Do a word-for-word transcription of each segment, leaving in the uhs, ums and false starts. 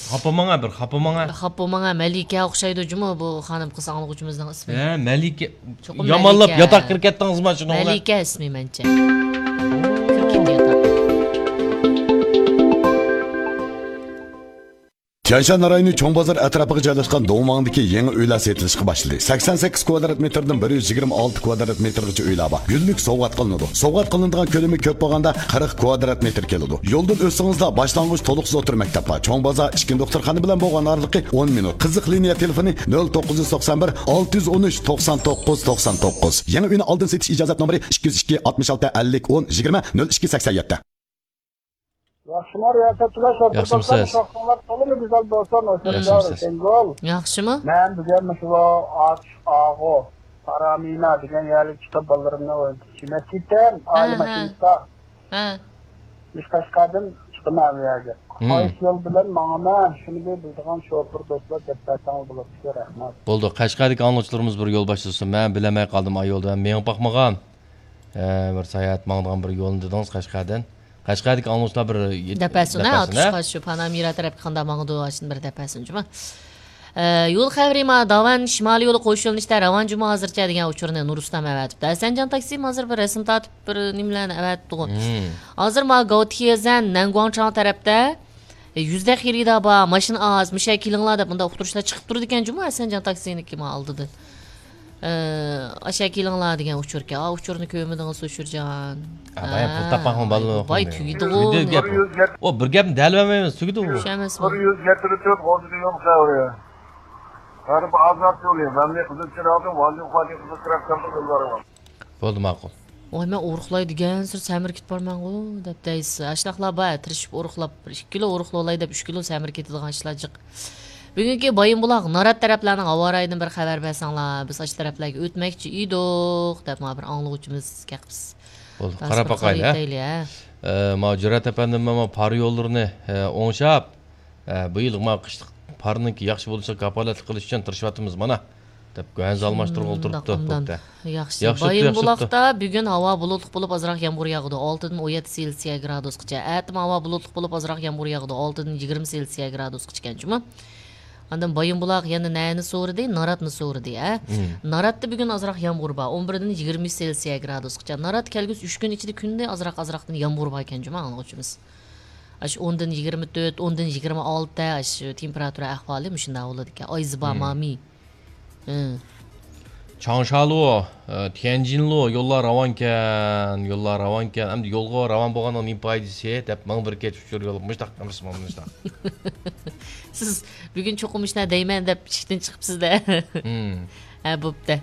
خاپا ماڭا، بىر خاپا ماڭا. خاپا ماڭا، مەلىكە ئوخشايدۇ جۇمۇ بۇ خانىم قىز ئاڭلىغۇچىمىزنىڭ ئىسمى. ھە، مەلىكە. چوقۇم يامانلاپ مەلىكە. ياتاققا كىرىپ كەتتىڭىزما شۇنىڭ بىلەن؟ مەلىكە ئىسمى مەنچە. كىرىپ كەتتى ياتاققا. تيەنشان رايونى چوڭ بازار ئەتراپىغا جايلاشقان دوڭماڭدىكى يېڭى ئۆيلەر سېتىلىشقا باشلىدى. سەكسەن سەككىز كۋادرات مېتىردىن بىر يۈز يىگىرمە ئالتە كۋادرات مېتىرغىچە ئۆيلەر بار. گۈللۈك سوۋغات قىلىنىدۇ. سوۋغات قىلىنىدىغان كۆلىمى كۆپ بولغاندا قىرىق كۋادرات مېتىر كېلىدۇ. يولدىن ئۆتسىڭىزلا باشلانغۇچ تولۇقسىز ئوتتۇرا مەكتەپ بار. چوڭ بازار ئىككىنچى دوختۇرخانا بىلەن بولغان ئارىلىقى ئون مىنۇت. قىزىق لىنىيە تېلېفونى نۆل توققۇز يۈز توقسان بىر، ئالتە يۈز ئون ئۈچ، توقسان توققۇز، توقسان توققۇز. يېڭى ئۆينى ئالدىن سېتىش ئىجازەت نومۇرى ئىككى يۈز ئىككى، ئاتمىش ئالتە، ئەللىك، ئون، يىگىرمە، نۆل ئىككى، سەكسەن يەتتە. ياخشىمۇ رىياسەتچىلەر، شوپۇر ياخشىمۇسىز؟ دوستلار، شوپۇرلار تولىمۇ گۈزەل بولسۇن، ھوشۇڭلار ياخشىمۇسىز؟ كەڭ بول. ياخشىمۇ؟ مەن بۈگۈن مۇشۇ ئاتۇش ئاغۇ، پارامىنا دېگەن يەرگە چىقىپ بالىلىرىمنى ئوينىتىپ يېمەك كېتىم. ھە، ئائىلە ھە. ماشىنىسىدا. ھە. مۇشۇ قەشقەردىن چىقىمەن ئۇ يەرگە. ھىم. قايسى يول بىلەن ماڭىمەن؟ شۇنى بىلىدىغان شوپۇر دوستلار دەپ بەرسەڭلار بولاتتىكەن، رەھمەت. بولدى، قەشقەردىكى ئاڭلىغۇچىلىرىمىز بىر يول باشلىسۇن. مەن بىلەلمەي قالدىم، ئاي يولدا مەن مېڭىپ باقمىغان. ئە، بىر ساياھەت ماڭىدىغان بىر يولنى دېدىڭىز قەشقەردىن. قەشقەردىكى ئاڭلىغۇچىلار بىر يېت-، دەپەسۇن، ھە، دەپەسۇن، ھە؟ ئاتۇشقا شۇ پانامىرا تەرەپكە قانداق ماڭىدۇ، ئاشۇنى بىر دەپەسۇن جۇما. ئە، يول خەۋىرى ما، داۋان شىمالىي يولى قوش يۆنىلىشتە راۋان جۇما ھازىرچە دېگەن ئۇچۇرنى نۇرۇسلام ئەۋەتىپتۇ. ھەسەنجان تاكسىمۇ ھازىر بىر رەسىم تارتىپ، بىر نېمىلەرنى ئەۋەتىپتىغۇ. مم. ھازىر ما گاۋتىخيېزەن، نەنگۇاڭچاڭ تەرەپتە، ئە، يۈزدەك خېرىدار بار، ماشىنا ئاز، مۇشۇ يەرگە كېلىڭلار دەپ، مۇنداق ئۇقتۇرۇشلار چىقىپ تۇرىدىكەن جۇمۇ، ھەسەنجان تاكسىنىڭكى ما ئالدىدىن. ئە، ئاشۇ يەرگە كېلىڭلار دېگەن ئۇچۇركەن. ئا، ئۇچۇرنى كۆرمىدىڭىز، ئۇچۇرجان. ئا، بايا پۇل تاپقان بالىلار باي، تۈگىدىغۇ. تۈگىدى گەپ. ئۇ بىر گەپنى دەلىۋەرمەيمىز، تۈگىدىغۇ. چۈشەنمەسمۇ؟ بىر يۈز يەتتە تۆت غۇلجىدا يول خەۋىرى. غەرب ئازاد يولى، مەملىكەت قىزىل چىراغدىن ۋالىدىن فاتىھ قىزىل چىراغ كەمپىنى يوللارغا. بولدى، ماقۇل. ۋاي، مەن ئورۇقلاي دېگەنسېرى سەمرىكىپ بارمەنغۇ، دەپ دەيسىز. ئاشۇنداقلار بار، تىرىشىپ ئورۇقلاپ، بىر ئىككى كىلو ئورۇقلاۋالاي دەپ، ئۈچ كىلو سەمرىكىپ كېتىدىغان ئىشلار جىق. بۈگۈنكى بايىنبۇلاق، نارات تەرەپلەرنىڭ ھاۋا رايىدىن بىر خەۋەر بەرسەڭلار، بىز ئاشۇ تەرەپلەرگە ئۆتمەكچى ئىدۇق، دەپ مانا بىر ئاڭلىغۇچىمىز كەقىپسىز. بولدى، قاراپ باقايلى، ھە؟ ئە، ماۋۇ جۈرئەت ئەپەندىم، ماۋۇ پار يوللىرىنى، ئە، ئوڭشاپ، ئە، بۇ يىل ماۋۇ قىشلىق پارنىڭكى ياخشى بولۇشىغا كاپالەتلىك قىلىش ئۈچۈن تىرىشىۋاتىمىز، مانا، دەپ گۆھەنزە ئالماشتۇرغىلى تۇرۇپتۇ، بوپتۇ. ياخشى، ياخشى، بايىنبۇلاقتا بۈگۈن ھاۋا بۇلۇتلۇق بولۇپ، ئازراق يامغۇر ياغىدۇ، ئالتىدىن ئون يەتتە سېلسىيە گرادۇسقىچە. ئەتىمۇ ھاۋا بۇلۇتلۇق بولۇپ، ئازراق يامغۇر ياغىدۇ، ئالتىدىن يىگىرمە سېلسىيە گرادۇسقىچە ئىكەن جۇمۇ. ئاندىن بايىنبۇلاق يەنە نەنى سورىدى؟ ناراتنى سورىدى، ھە؟ مم. ناراتتا بۈگۈن ئازراق يامغۇر بار، ئون بىردىن يىگىرمە ئۈچ سېلسىيە گرادۇسقىچە. نارات كەلگۈسى ئۈچ كۈن ئىچىدە كۈندە ئازراق-ئازراقتىن يامغۇر بار ئىكەن جۇمۇ، ئاڭلىغۇچىمىز. ئاشۇ ئوندىن يىگىرمە تۆت، ئوندىن يىگىرمە ئالتە، ئاشۇ تېمپېراتۇرا ئەھۋالى مۇشۇنداق بولىدىكەن. ئايزى بار، مم. مامى. ھە. چاڭشالۇ، ئە، تيەنجىنلۇ يوللار راۋانكەن، يوللار راۋانكەن. ئەمدى يولغا راۋان بولغاننىڭ نېمە پايدىسى دەپ ماڭا بىر كەچ ئۇچۇر يوللىغان. مۇشتاق ئەمەسمۇ، مۇشتاق. سىز بۈگۈن چوقۇم مۇشۇنداق دەيمەن دەپ ئىشىكتىن چىقىپسىز-دە. مم. ھە، بوپتۇ.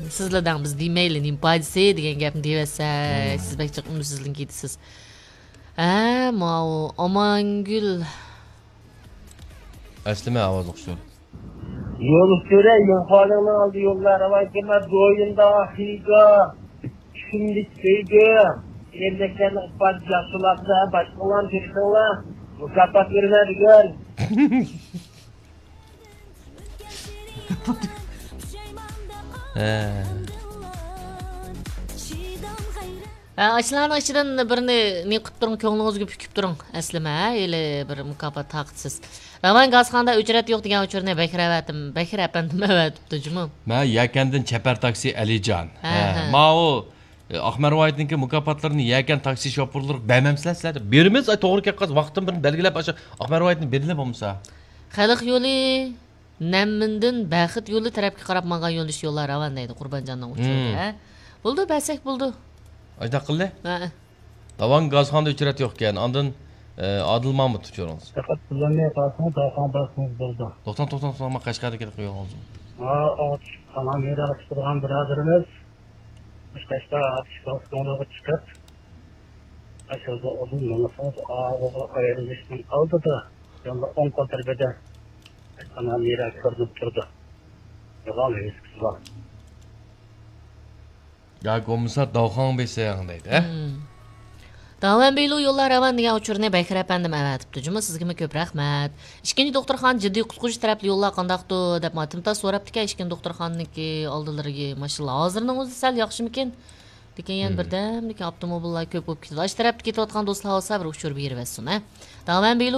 سىزلا دەڭ، بىز دېمەيلى، نېمە پايدىسى دېگەن گەپنى دېيىۋەتسەك، مم. سىز بەك جىق ئۈمىدسىزلىنىپ كېتىسىز. ھە، ماۋۇ ئامانگۈل. ئەسلىمە ئاۋازلىق شۇ. يول ئۈستىدە يىڭخۇالىڭنىڭ ئالدى يوللار راۋان كېمە دويۇندا خىگا، چۈشۈملۈك سۆيگۈ، يەرلىكلەرنىڭ ئىپادىسى ياخشىلاردا باشقىلارنى كۆرسەڭلار، مۇكاپات بېرىمەن بۈگۈن. ھە. ھە، ئاشۇلارنىڭ ئىچىدىن بىرنى نېمە قىلىپ تۇرۇڭ، كۆڭلىڭىزگە پۈكۈپ تۇرۇڭ. ئەسلىمە، ھە، ھېلى بىر مۇكاپات تارقىتىسىز. راۋان گازخانىدا ئۆچرەت يوق دېگەن ئۇچۇرنى بەكرى ئەۋەتىم، بەكرى ئەپەندىم ئەۋەتىپتۇ جۇمۇ. مەن يەكەندىن چەپەر تاكسى ئەلىجان. ھە، ھە، ھە. ماۋۇ، ئە، ئاق مەرۋايىتنىڭكى مۇكاپاتلىرىنى يەكەن تاكسى شوپۇرلىرىغا بەرمەمسىلەر سىلەر دەپ. بېرىمىز، ئاي، توغرا كەپ قالسا، ۋاقتىنى بىرنى بەلگىلەپ، ئاشۇ ئاق مەرۋايىتنى بېرىلى بولمىسا. خەلق يولى. نەممىندىن بەخت يولى تەرەپكە قاراپ ماڭغان يۆنىلىش يوللار راۋان دەيدۇ قۇربانجاننىڭ ئۇچۇرىدا، ھە؟ بولىدۇ، بەرسەك بولىدۇ. ئاشۇنداق قىلدى؟ ھە. داۋان گازخانىدا ئۆچرەت يوق ئىكەن، ئاندىن، ئە، ئادىل مامۇت ئۇچۇرىڭىز. پەقەت بىلەلمەي قالسىڭىز، داۋخان بارسىڭىز بولىدۇ. توختاڭ، توختاڭ، توختاڭ، مانا قەشقەردىكى يولغا ئالسۇن. ھا، ئاتۇش، سامان مېيدانغا چىقىدىغان بۇرادىرىمىز. مۇشۇ قەشقەر ئاتۇش گازخانىغا چىقىپ، ئاشۇ يولدا ئۇزۇن مېڭىسىڭىز، ئاغۇغا ئايرىلىشنىڭ ئالدىدا، يولدا ئوڭ قول تەرىپىدە ئانا مىرا كۆرۈنۈپ تۇرىدۇ. يوغان ۋىۋىسكىسى بار. ياكى بولمىسا داۋخاڭ بېسىڭ دەيدۇ، ھە؟ داۋەن بىلۇ يوللار راۋان دېگەن ئۇچۇرنى بەكرى ئەپەندىم ئەۋەتىپتۇ جۇمۇ، سىزگىمۇ كۆپ رەھمەت. ئىككىنچى دوختۇرخانا جىددىي قۇتقۇزۇش تەرەپلىك يوللار قانداقتۇ دەپ ماتىمتا سوراپتىكەن، ئىككىنچى دوختۇرخانىنىڭكى ئالدىلىرىگە ماشىنىلار ھازىرنىڭ ئۆزى سەل ياخشىمىكىن؟ لېكىن يەنە بىردەمدىكىن ئاپتوموبىللار كۆپ بولۇپ كېتىدۇ. ئاشۇ تەرەپتە كېتىۋاتقان دوستلار بولسا بىر ئۇچۇر بېرىۋەتسۇن، ھە. داۋەن بىلۇ